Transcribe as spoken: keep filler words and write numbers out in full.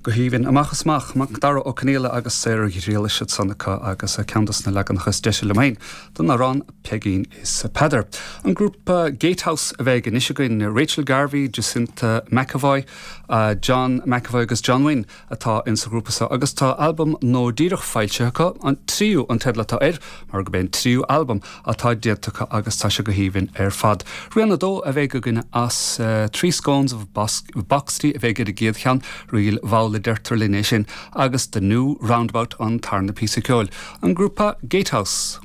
Go haoibhinn amach is amach Macdara Ó Conghaile agus Sarah Ghriallais ansan acu agus ceann des na leaganacha is deise liom féin den amhrán Peigín is Peadar. An grúpa Gatehouse a bheidh anois againn Rachel Garvey, Jacinta McAvoy, uh, John McAvoy agus John Wynne atá insa ghrúpa seo agus tá albam nua díreach foilsithe acu an tríú an teideal atá air mar gurb é an tríú albam atá déanta acu agus tá sé go haoibhinn ar fad. Rian a dó a bheidh againn as uh, Three Scones of Boxty a bheidh ar an gcéad cheann ríl mhall a deirtear linn é sin agus The New Roundabout an tarna píosa ceoil. An grúpa Gatehouse.